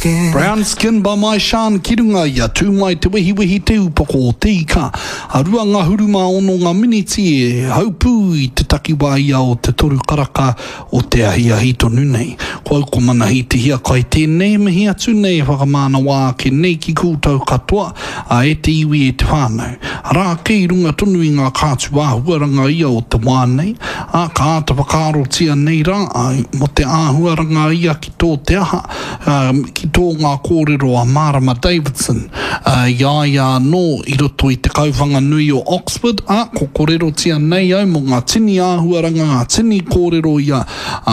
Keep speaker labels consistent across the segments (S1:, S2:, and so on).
S1: Brown Skin by Myshan ki runga i a Tū Mai Te Wehiwehi Te Upoko o Te Ika. A 26 ngā miniti e haupū i te takiwā ia o te toru karaka o te ahiahi tonu nei. Ko au ko Manahi Te Hiakai tēnei e mihi atu nei e whakamānawa ake nei ki koutou katoa, a e te iwi e te whānau. Arā ake i runga tonu i ngā kātu āhuaranga ia o te wā nei, ā, ka āta whakaarotia nei rā au mō te āhuaranga ia ki tō te aha, ki tō ngā kōrero a Marama Davidson i a ia anō i roto i te Kauwhanganui o Oxford, ā, ko korerotia nei au mō ngā tini āhuaranga, ngā tini kōrero ia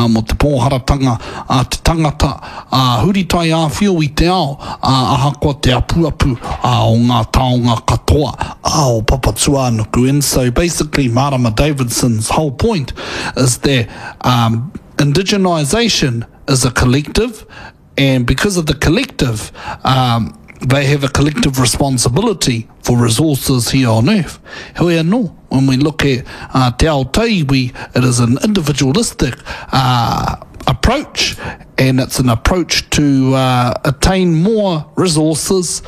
S1: mō te pōharatanga a te tangata, ā, huri taiāwhio i te ao, ā, ahakoa te apuapu o ngā taonga katoa o Papatūānuku. And so basically Marama Davidson's whole point is that um, indigenisation is a collective, and because of the collective, um, they have a collective responsibility for resources here on earth. Heoi anō, when we look at uh, te ao tauiwi, it is an individualistic uh, approach and it's an approach to uh, attain more resources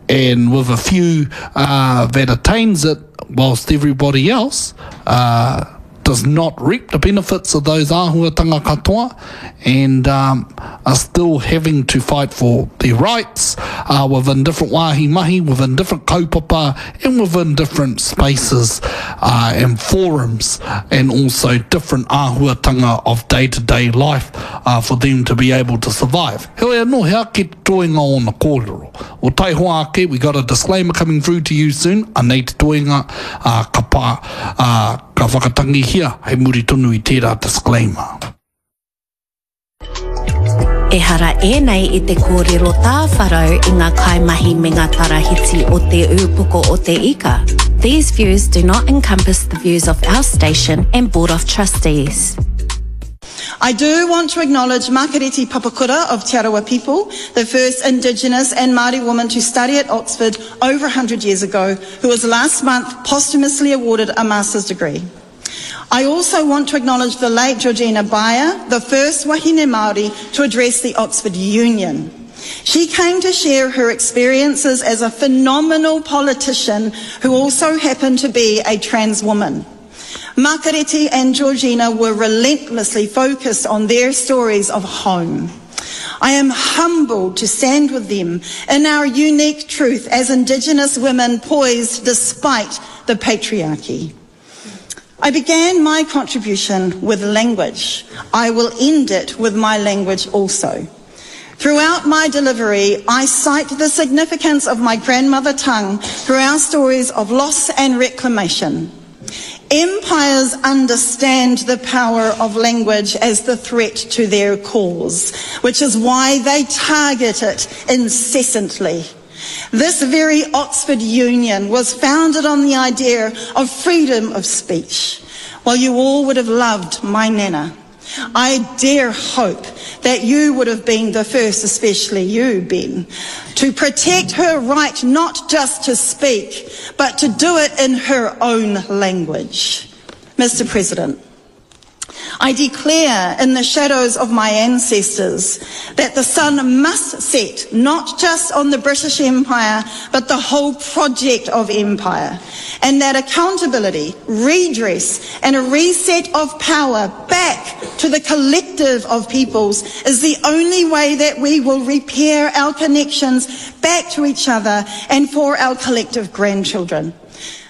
S1: and with a few uh, that attains it whilst everybody else uh, does not reap the benefits of those āhuatanga katoa and um, are still having to fight for their rights uh, within different wāhi mahi, within different kaupapa and within different spaces uh, and forums and also different āhuatanga of day-to-day life uh, for them to be able to survive. Heoi anō, he ake te toenga ōna kōrero. O taihoa ake, we got a disclaimer coming through to you soon, anei te toenga, uh, ka pā, uh, Ka whakatangihia hei muri tonu i tērā disclaimer.
S2: Ehara ēnei i te kōrero tāwharau i ngā kaimahi me ngā tarahiti o Te Ūpoko o Te Ika. These views do not encompass the views of our station and Board of Trustees.
S3: I do want to acknowledge Makareti Papakura of Te Arawa people, the first Indigenous and Māori woman to study at Oxford over 100 years ago, who was last month posthumously awarded a master's degree. I also want to acknowledge the late Georgina Beyer, the first wahine Māori to address the Oxford Union. She came to share her experiences as a phenomenal politician who also happened to be a trans woman. Makareti and Georgina were relentlessly focused on their stories of home. I am humbled to stand with them in our unique truth as Indigenous women poised despite the patriarchy. I began my contribution with language. I will end it with my language also. Throughout my delivery, I cite the significance of my grandmother tongue through our stories of loss and reclamation. Empires understand the power of language as the threat to their cause, which is why they target it incessantly. This very Oxford Union was founded on the idea of freedom of speech. Well, you all would have loved my nana. I dare hope that you would have been the first, especially you, Ben, to protect her right not just to speak, but to do it in her own language. Mr. President, I declare in the shadows of my ancestors that the sun must set not just on the British Empire, but the whole project of empire, and that accountability, redress, and a reset of power back to the collective of peoples is the only way that we will repair our connections back to each other and for our collective grandchildren.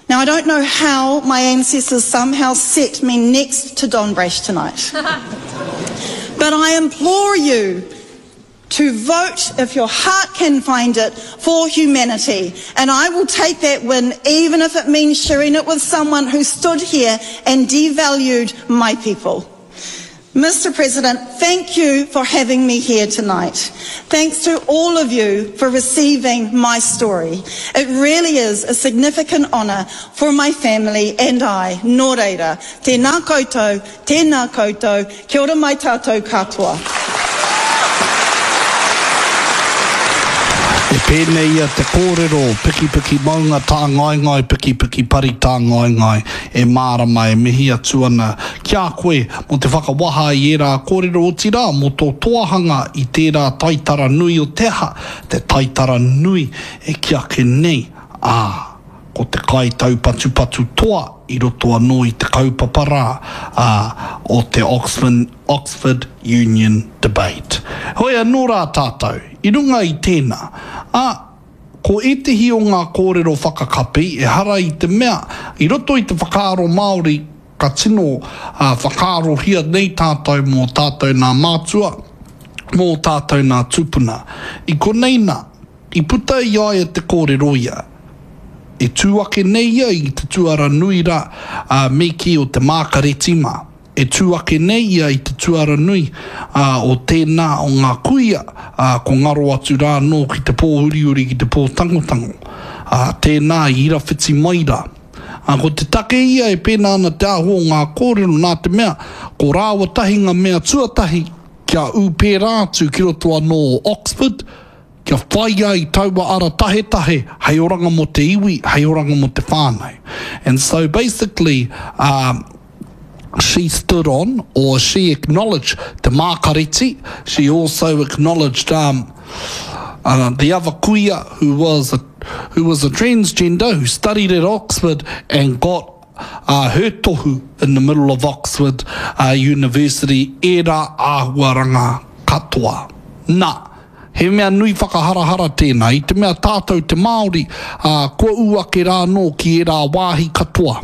S3: Now, I don't know how my ancestors somehow set me next to Don Brash tonight. but I implore you to vote, if your heart can find it, for humanity. And I will take that win, even if it means sharing it with someone who stood here and devalued my people. Mr. President, thank you for having me here tonight. Thanks to all of you for receiving my story. It really is a significant honour for my family and I. Nō reira, tēnā koutou, tēnā koutou, kia ora mai tātou katoa.
S1: E pēnei ia te kōrero, pikipiki maunga tāngaengae, pikipiki pari tāngaengae, e mārama e mihi atu ana ki a koe mō te whakawaha i ērā kōrero otirā mō tō toahanga i tērā taitara nui o te aha, te taitara nui e kī ake nei, ā, ko te kaitaupatupatu toa i roto anō i te kaupapa rā, ā, o te Oxford Union Debate. Heoi anō rā tātou, i runga i tēnā, ā, ko ētehi o ngā kōrero whakakapi ehara i te mea, i roto i te whakaaro Māori ka tino whakaarohia nei tātou mō tātou nā mātua, mō tātou nā tūpuna. I konei nā, I puta i a ia te kōrero ia, e tū ake nei ia i te tuara nui rā, ā, me kī o te Mākareti mā. E tū ake nei ia i te tuara nui, ā, o tēnā o ngā kuia, ā, ko ngaro atu rā anō ki te pō uriuri, ki te pō tangotango, ā, tēnā i irawhiti mai rā. Ā, ko te take ia e pēnā ana te āhua o ngā kōrero nā te mea, ko rāua tahi ngā mea tuatahi kia ū pērā atu ki roto anō o Oxford, Kia whai ai taua ara tahetahe hei oranga mō te iwi, hei oranga mō te whānau. And so basically, um, she stood on, or she acknowledged te Mākareti, she also acknowledged um, uh, the other kuia who was a, who was a transgender who studied at Oxford and got uh, her tohu in the middle of Oxford uh, University, ērā āhuaranga katoa. Nā, He mea nui whakaharahara tēnā, i te mea tātou te Māori, ā, kua ū ake rā anō ki ērā wāhi katoa.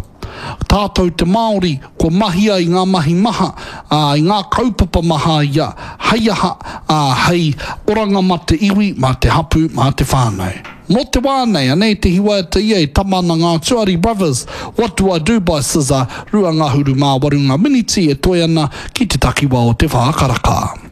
S1: Tātou te Māori, kua mahia i ngā mahi maha, ā, i ngā kaupapa maha ia, hei aha, ā, hei oranga mā te iwi, mā te hapū, mā te whānau. Mō te wā nei, anei te hiwaita ia e tama ana ngā Tuari Brothers, What Do I Do by SZA, 28 ngā miniti e toe ana ki te takiwā o te whā karaka.